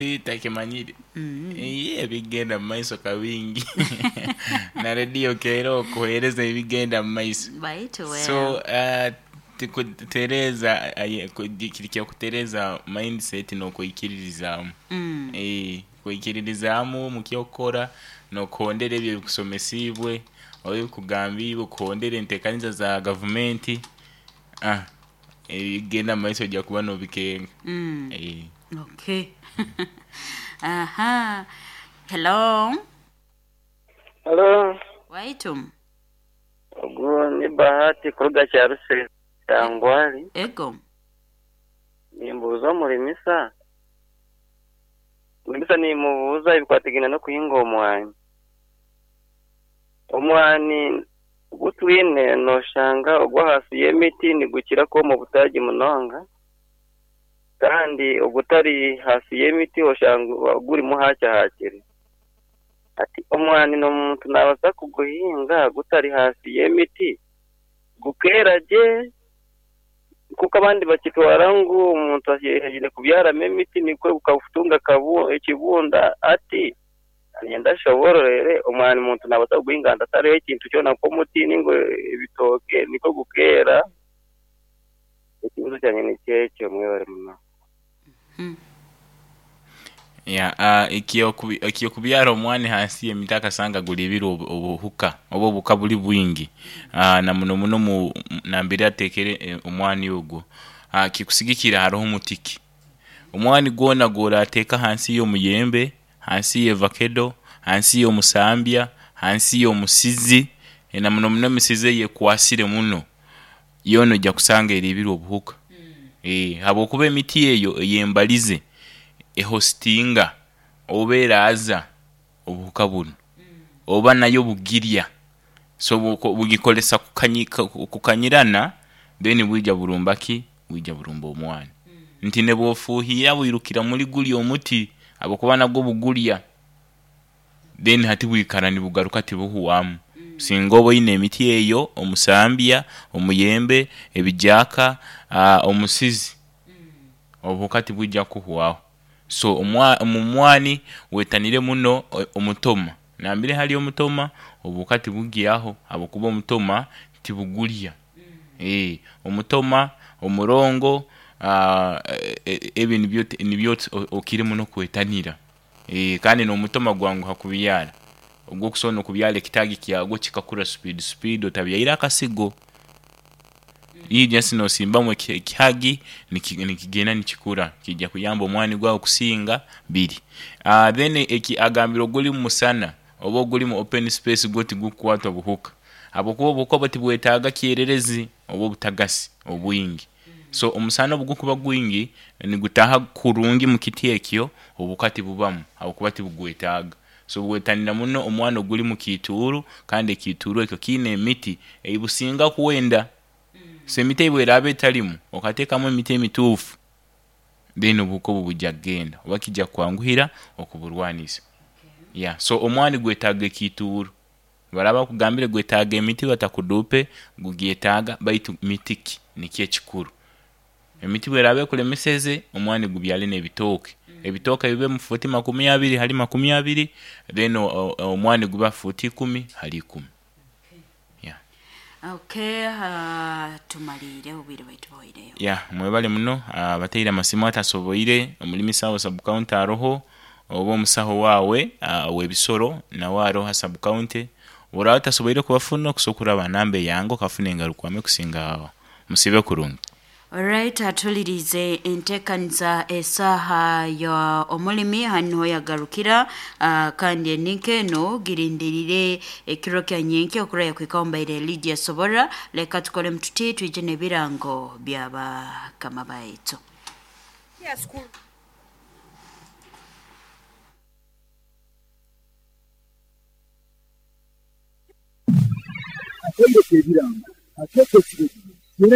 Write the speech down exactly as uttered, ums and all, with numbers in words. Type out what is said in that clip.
Takimanyire Iye ebigenda mumaiso kabingi na rediyo keera okuheereza ebigenda mumaiso Baitu so wewe uh, tikutereeza aye- ku- kiri kyakutereeza mindset n'okwikiririzaamu mm. Eh, kwikiririzaamu mu kyokukora n'okuhondera ebyo ebikusomesiibwe oba ebikugambiibwe okuhondera enteekaniza za gavumenti ah, ebigenda mumaiso ojja kuba n'obikenga Mm. Eh. Okay. Aha. Hello. Halo, Waitu. ogu ni Bahati kuruga Kyaruse Tangwali. Ego. Nimbuuza omurimisa. Murimisa nimubuuza ebikwatagaine n'okuhinga omwani. Omwani gutwine nooshanga ogw'ahansi y'emiti nigukira kwoma obutaagi munonga kandi ogutari hansi y'emiti oshanga gurimu hakyahakire. Hati omwani n'omuntu naabaasa kuguhinga gutari hansi y'emiti gukeera gye kuko abandi bakitwara ngu omuntu aine kubyaramu emiti nikwo gukatunga akabu ekibunda ati niinyenda ashoboororere omwani omuntu naabaasa kuguhinga ahantu hatariho ekintu kyona nk'omuti ninga ebitooke nikwo gukeera ekibuuzo kyangye nikyo ekyo mwebare munonga. Mm. Ya, uh, ekyokubi- ekyokubyara omwani hansi y'emiti akasanga gulibire obu- obuhuka oba obuhuka buli bwingi uh, na muno muno mu nambere ateekere eh, omwani ogwo uh, kikusigikira haroho mutiki omwani gwona gworateeka hansi y'omuyembe hansi y'evakedo hansi y'omusambya hansi y'omusizi eh, na muno muno emisizi eyekwasire muno yoona ojja kusanga eribire obuhuka eh, habwokuba emiti eyo eyembalize ehostinga oba eraaza obuhuka bunu oba nayo bugirya so buko- bugikolesa kukanyi, ku- kukanyirana then bwija burumba ki bwija burumba omwani nti nebwofuuhira bwirukira muri guri omuti habwokuba nagwo bugurya then hati bwikara nibugaruka tibuhwamu singa oba oine emiti eyo omusambya omuyembe ebijaaka uh, omusizi obuhuka tibwija kuhwaho so omwa omu mwani wetanire muno o- omutoma nambere hari omutoma obuhuka tibugyaho habwokuba omutoma tibugurya eh, omutoma omurongo uh, ebi nibyo nibyo okire muno kwetanira eh, kandi n'omutoma gwanguha kubyara ogwokusobola n'okubyara ekitaagi kyagwo kikakura speed speed otabyaire akasigo ija nosimbamu eki- ekihagi niki- nikigenda nikikura kijja kuyamba omwani gwawe kusinga biri uh, then eki agambire oguli mu musana oba oguli mu open space gwo tigukukwatwa buhuka habwokuba obuhuka obwo tibwetaaga kyererezi oba obutagasi obwingi so omusana obugukuba gwingi nigutaaha kurungi mu kiti ekyo obuhuka tibubamu habwokuba tibugwetaaga so bwetanira muno omwani oguli mu kiituuru kandi ekiituuru ekyo kiine emiti eibusinga kwenda so emiti ei bweraaba etarimu okateekamu emiti emituufu then obuhuka obu bujja kugenda oba kijja kukwanguhira okuburwanisa yeah. So omwani gwetaaga ekiituuru baraba bakugambire gwetaaga emiti batakuduupe gugyetaaga baitu miti ki nikyo ekikuru emiti bweraaba ekulemeseze omwani gubyare n'ebitooke ebitooke bibe mu fuuti makumi abiri hali makumi abiri then o- o- omwani gube ha fuuti ikumi hali ikumi yeah. Okay, uh, tumalire obwire bwaitu buhweireyo. ya mwebale muno abateire amasimu atasoboire omulimisa wa subcounty aroho oba omusaho waawe ah, ow'ebisoro nawe aroho ha subcounty oraba otasoboire kubafuna okusobola kuraba namba eyange okafuna engarukwame kusinga aho musibe kurungi. Alright, atulirize enteekaniza esaaha ya omulimi hanu yagarukira uh, kandi eninka eno girindirire ekiro kya nyenkya okuraya kwika ombaire Lydia Sobora leka tukole mtuti twije n'ebirango byabakama baitu. Akende kebirango akeke kirego.